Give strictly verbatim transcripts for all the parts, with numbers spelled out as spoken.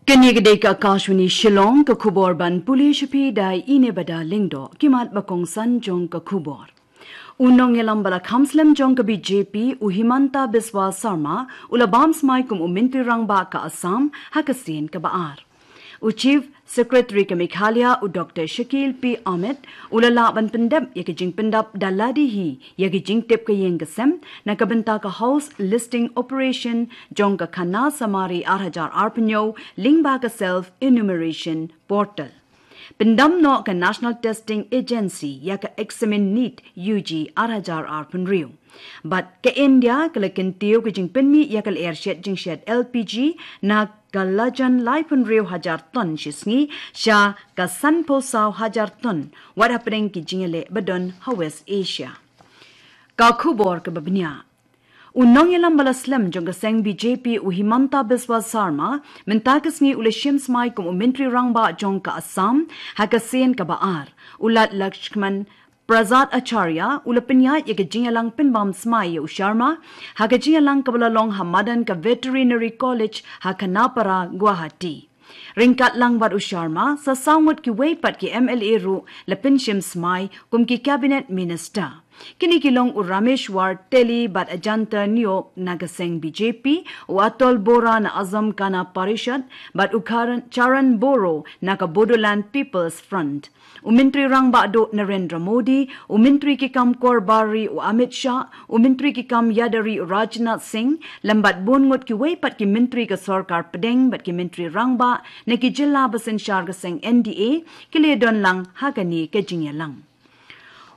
Kane ka dei ka Akashvani Shillong, ka khubor ban pule sha phi da i Nebada Lyngdoh. Ki mat ba kongsan jong ka khubor. U nongïalam ba la kham slem jong ka B J P, u Himanta Biswa Sarma, u la bam smai kum u Myntri Rangbah ka Assam ha ka sien kaba ar. U Chief Secretary ka Meghalaya, u Doctor Shakil P Amit, u la lah ban pyndep ïa ka jingpyndap da lade hi ïa ka jingtip ka ïing ka sem na ka bynta ka house listing operation jong ka Khanashamari ar hajar arphew hynñiew lyngba ka self enumeration portal. Pyndam noh ka National Testing Agency ïa ka eksamin NEET U G ar hajar arphew hynriew. Bad ka India ka la kyntiew ka jingpynmih ïa ka lyer shet jingshet L P G na ka lajan laiphew hynriew hajar ton shi sngi sha ka sanphew saw hajar ton, wat hapdeng ki jingïaleh ba don ha West Asia. Ka khubor kaba bniah. U nongïalam ba la slem jong ka seng B J P, u Himanta Biswa Sarma, mynta ka sngi u la shim smai kum u Myntri Rangbah jong ka Assam ha ka sien kaba ar. U Lad Lakshman Prasad Acharya u la pynïaid ïa ka jingïalang pynbam smai ïa u Sharma ha ka jingïalang kaba la long ha madan ka Veterinary College ha Khanapara, Guwahati. Ryngkat lang bad u Sharma, sa saw ngut kiwei pat ki M L A ruh la pynshim smai kum ki Cabinet Minister. Kine ki long u Rameshwar Teli bad Ajanta Neog na ka seng B J P, u Atul Bora na Assam Gana Parishad, bad u Karan, Charan Boro na ka Bodoland People's Front. U Myntri Rangbah Duh Narendra Modi, u Myntri ki kam kor bar ri u Amit Shah, u Myntri ki kam ïada ri u Rajnath Singh, lem bad bun ngut kiwei pat ki myntri ka sorkar pdeng bad ki myntri rangbah na ki jylla ba synshar ka seng N D A, ki la don lang ha kane ka jingïalang.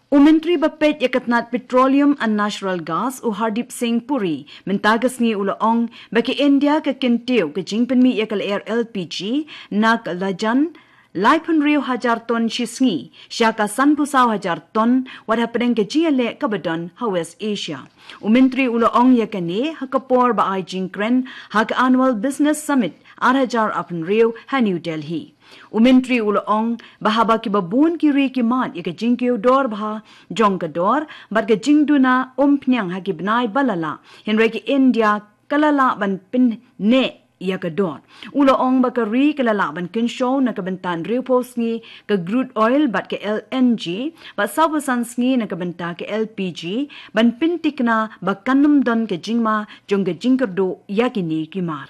U Myntri ba peit ïa ka tnat Petroleum and Natural Gas, u Hardeep Singh Puri, mynta ka sngi u la ong ba ka India ka kyntiew ka jingpynmih ïa ka lyer L P G na ka lajan laiphew hynriew hajar ton shi sngi sha ka sanphew saw hajar ton, wat hapdeng ka jingïaleh kaba don ha West Asia. U Myntri u la ong ïa kane ha ka por ba ai jingkren ha ka Annual Business Summit ar hajar arphew hynriew ha New Delhi. U Myntri u la ong ba haba kiba bun ki ri ki mad ïa ka jingkiew dor bha jong ka dor bad ka jingduna umphniang ha ki bnai ba la lah, hynrei ka India ka la lah ban pynneh ïa ka dor. U la ong ba ka ri ka la lah ban kynshew na ka bynta hynriewphew sngi ka crude oil bad ka L N G, bad sawphew san sngi na ka bynta ka L P G, ban pyntikna ba kan ym don ka jingma jong ka jingkyrduh ïa kine ki mar.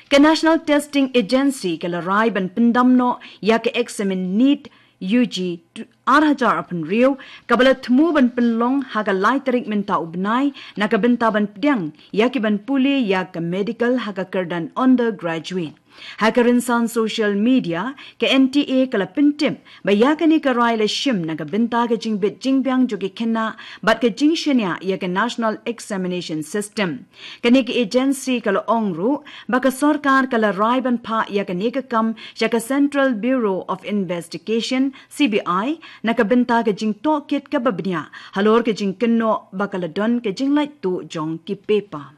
Ka National Testing Agency ka la rai ban pyndam noh ïa ka eksamin NEET U G ar hajar arphew hynriew, kaba la thmu ban pynlong ha ka lai tarik mynta u bnai, na ka bynta ban pdiang ïa ki ban pule ïa ka medical ha ka kyrdan undergraduate. Ha ka rynsan social media, ka N T A ka la pyntip ba ïa kane ka rai la shim na ka bynta ka jingbit jingbiang jong ki khynnah bad ka jingshaniah ïa ka National Examination System. Kane ka agency ka la ong ruh ba ka sorkar ka la rai ban phah ïa kane ka kam sha ka Central Bureau of Investigation, C B I, na ka bynta ka jingtohkit kaba bniah halor ka jingkynnoh ba ka la don ka jinglait tuh jong ki paper.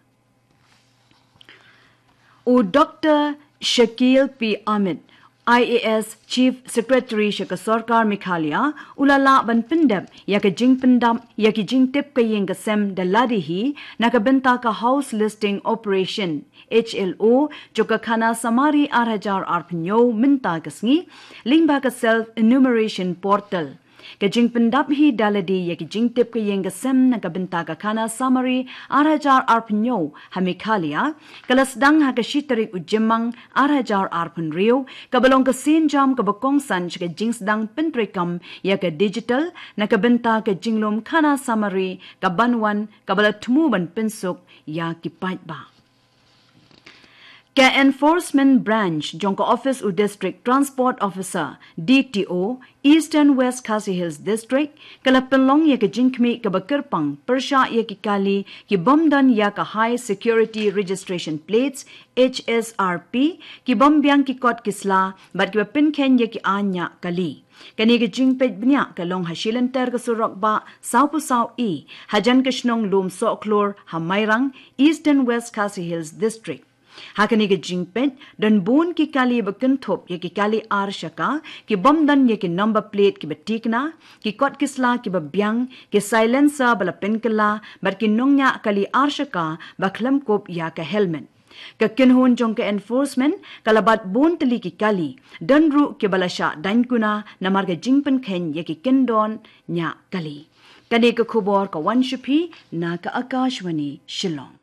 U Doctor Shakil P Amit, I A S Chief Secretary sha ka sorkar Meghalaya, u la lah ban pyndep ïa ka jingpyndap ïa ki jingtip ka ïing ka sem da lade hi na ka bynta ka House Listing Operation, H L O, jong ka Khanashamari ar hajar arphew hynñiew mynta ka sngi, lyngba ka Self Enumeration Portal. Ka jingpyndap hi da lade ïa ki jingtip ka ïing ka sem na ka bynta ka Khanashamari ar hajar arphew hynñiew ha Meghalaya, ka la sdang ha ka shi tarik u Jymmang ar hajar arphew hynriew, kaba long ka sienjam kaba kongsan sha ka jingsdang pyntreikam ïa ka digital na ka bynta ka jinglum Khanashamari kaban wan, kaba la thmu ban pynsuk ïa ki paidbah. Ka Enforcement Branch jong ka Office u District Transport Officer, D T O, Eastern West Khasi Hills District, ka la pynlong ïa ka jingkhmih kaba kyrpang pyrshah ïa ki kali ki bym don ïa ka High Security Registration Plates, H S R P, ki bym biang ki kot ki sla bad kiba pynkheiñ ïa ki aiñ ñiah kali. Kane ka jingpeit bniah ka long ha shilynter ka surok bah sawphew saw E, hajan ka shnong Lumsohkhlur ha Mairang, Eastern West Khasi Hills District. Ha kane ka jingpeit, don bun ki kali ba kynthup ïa ki kali ar shaka, ki bym don ïa ki number plate kiba tikna, ki kot ki sla kiba biang, ki silencer ba la pynkylla, bad ki nongñiah kali ar shaka ba khlem kup ïa ka helmet. Ka kynhun jong ka enforcement ka la bat bun tylli ki kali, don ruh kiba la shah daiñ kuna namar ka jingpynkheiñ ïa ki kyndon ñiah kali. Kane ka khubor ka wan sha phi na ka Akashvani Shillong.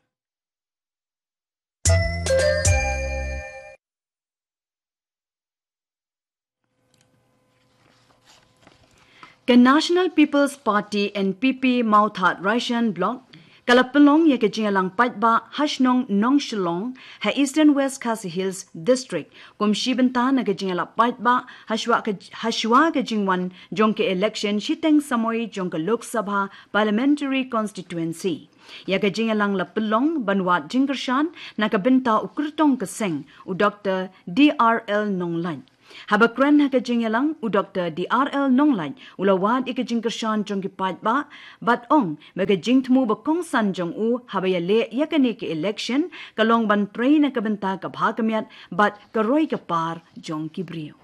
Ka National People's Party, N P P, Mawthadraishan Block ka la pynlong ïa ka jingïalang paidbah ha shnong Nongshillong ha Eastern West Khasi Hills District kum shi bynta na ka jingïalang paidbah ha shuwa ka, ha shuwa ka jingwan jong ka election shiteng samoi jong ka Lok Sabha Parliamentary Constituency. Ïa ka jingïalang la pynlong ban wad jingkyrshan na ka bynta u kyrtong ka seng, u Doktor D R L Nonglait. Haba kren ha ka jingïalang, u Doktor D R L Nonglait u la wad ïa ka jingkyrshan jong ki paidbah bad ong ba ka jingthmu ba kongsan jong u haba ïaleh ïa kane ka election ka long ban trei na ka bynta ka bha ka miat bad ka roi ka par jong ki briew.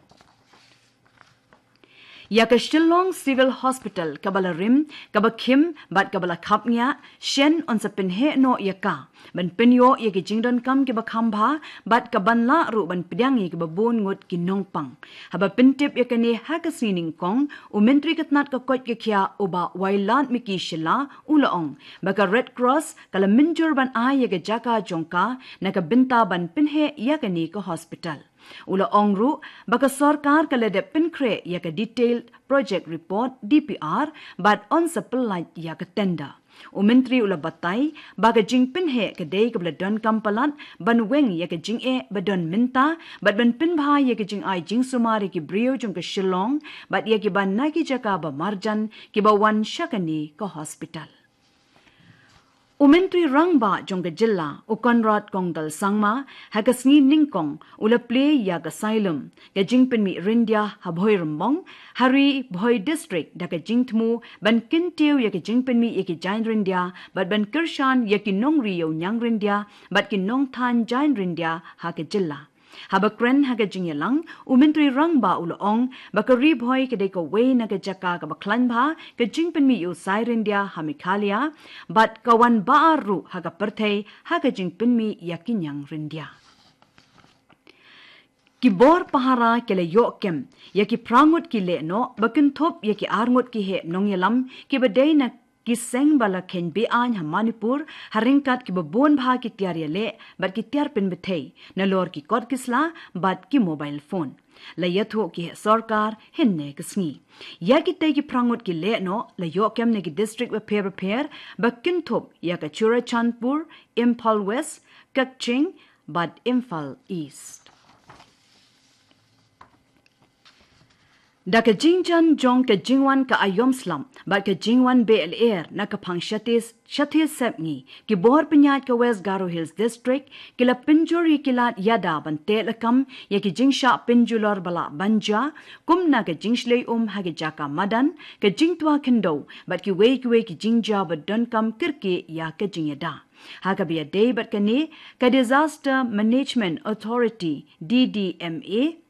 Ïa ka Shillong Civil Hospital kaba la rim, kaba khim bad kaba la khapngiah, shen yn sa pynheh noh ïa ka ban pynïoh ïa ki jingdonkam kiba kham bha bad kaban lah ruh ban pdiang ïa kiba bun ngut ki nongpang. Haba pyntip ïa kane ha ka sngi Nyngkong, u Myntri ka tnat ka koit ka khiah, u Bah Wailadmiki Shylla, u la ong ba ka Red Cross ka la mynjur ban ai ïa ka jaka jong ka na ka bynta ban pynheh ïa kane ka hospital. U la ong ruh ba ka sorkar ka la dep pynkhreh ïa ka Detailed Project Report, D P R, bad yn sa pyllait ïa ka tender. U Myntri u la batai ba ka jingpynheh ka dei kaba la donkam palat ban weng ïa ka jingeh ba don mynta bad ban pynbha ïa ka jingai jingsumar ïa ki briew jong ka Shillong bad ïa kiba na ki jaka ba marjan kiba wan sha kane ka hospital. U Myntri Rangbah jong ka jylla, u Conrad Kongkal Sangma, ha ka sngi Nyngkong u la plie ïa ka Xylem, ka jingpynmih ryndia ha Bhoirymbong, ha Ri Bhoi District, da ka jingthmu ban kyntiew ïa ka jingpynmih ïa ki jaiñ ryndia bad ban kyrshan ïa ki nongri ïewniang ryndia bad ki nongthain jaiñ ryndia ha ka jylla. Haba kren ha ka jingïalang, u Myntri Rangbah u la ong ba ka Ri Bhoi ka dei kawei na ka jaka kaba khlaiñ bha ka jingpynmih ïa u sai ryndia ha Meghalaya bad ka wan ba ar ruh ha ka pyrthei ha ka jingpynmih ïa ki ñiang ryndia. Ki bor pahara ki la ïoh kem ïa ki phra ngut ki lehnoh ba kynthup ïa ki ar ngut ki heh nongïalam kiba dei na ki seng ba la kheiñ be-aiñ ha Manipur, ha ryngkat kiba bun bha ki tiar ïaleh bad ki tiar pynbthei, nalor ki kot ki sla bad ki mobile phone. La ïathuh ki heh sorkar hynne ka sngi. Ïa kitei ki phra ngut ki lehnoh la ïoh kem na ki district bapher bapher ba kynthup ïa ka Churachandpur, Imphal West, Kakching bad Imphal East. Da ka jingjan jong ka jingwan ka aïom slap bad ka jingwan beh lyer na ka phang shathie, shathie sepngi, ki bor pynïaid ka West Garo Hills District ki la pynjur ïa ki lad ïada ban teh lakam ïa ki jingshah pynjulor ba lah ban jia, kum na ka jingshlei um ha ki jaka madan, ka jingtwa khyndew bad kiwei kiwei ki jingjia ba donkam kyrkieh ïa ka jingïada. Ha kaba ïadei bad kane, ka Disaster Management Authority, D D M A,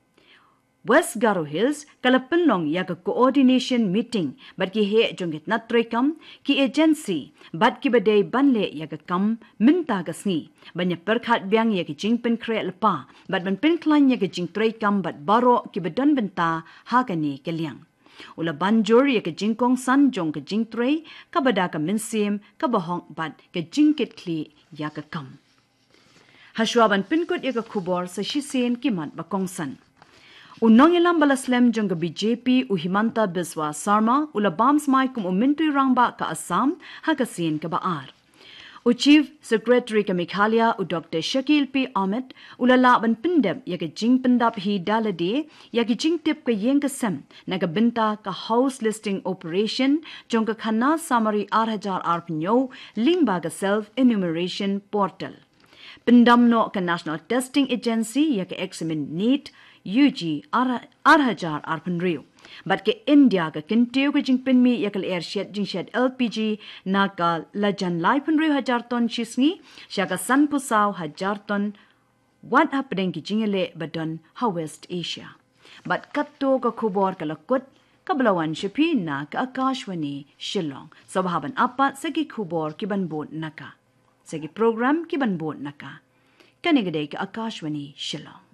West Garo Hills ka la pynlong ïa ka coordination meeting bad ki heh jong ki tnat treikam, ki agency bad kiba dei ban leh ïa ka kam mynta ka sngi ban ïa pyrkhat biang ïa ka jingpynkhreh lypa bad ban pynkhlaiñ ïa ka jingtreikam bad baroh kiba don bynta ha kane ka liang. U la ban jur ïa ka jingkongsan jong ka jingtrei kaba da ka mynsiem kaba hok bad ka jingkitkhlieh ïa ka kam. Hashwa ban pynkut ïa ka khubor, sa shisien ki mat ba kongsan. U nongïalam ba la slem jong ka B J P, u Himanta Biswa Sarma, u la bam smai kum u Myntri Rangbah ka Assam ha ka sien kaba ar. U Chief Secretary ka Meghalaya, u Doctor Shakil P Amit, u la lah ban pyndep ïa ka jingpyndap hi da lade ïa ki jingtip ka ïing ka sem na ka bynta ka house listing operation jong ka khana samari ar hajar arphew hynñiew lyngba ka self enumeration portal. Pyndam noh ka National Testing Agency ïa ka eksamin NEET U G ar, ar hajar arphew hynriew. Bad ka India ka kyntiew ka jingpynmih ïa ka lyer shet jingshet L P G na ka lajan laiphew hynriew hajar ton shisngi sha ka sanphew saw hajar ton, wat hapdeng ki jingïaleh ba don ha West Asia. Bad katto ka khubor ka la kut, kaba la wan sha phi na ka Akashvani Shillong. Sngewbha ban ap pat sa ki khubor ki ban bud na ka, sa ki program ki ban bud na ka. Kane ka dei ka Akashvani Shillong.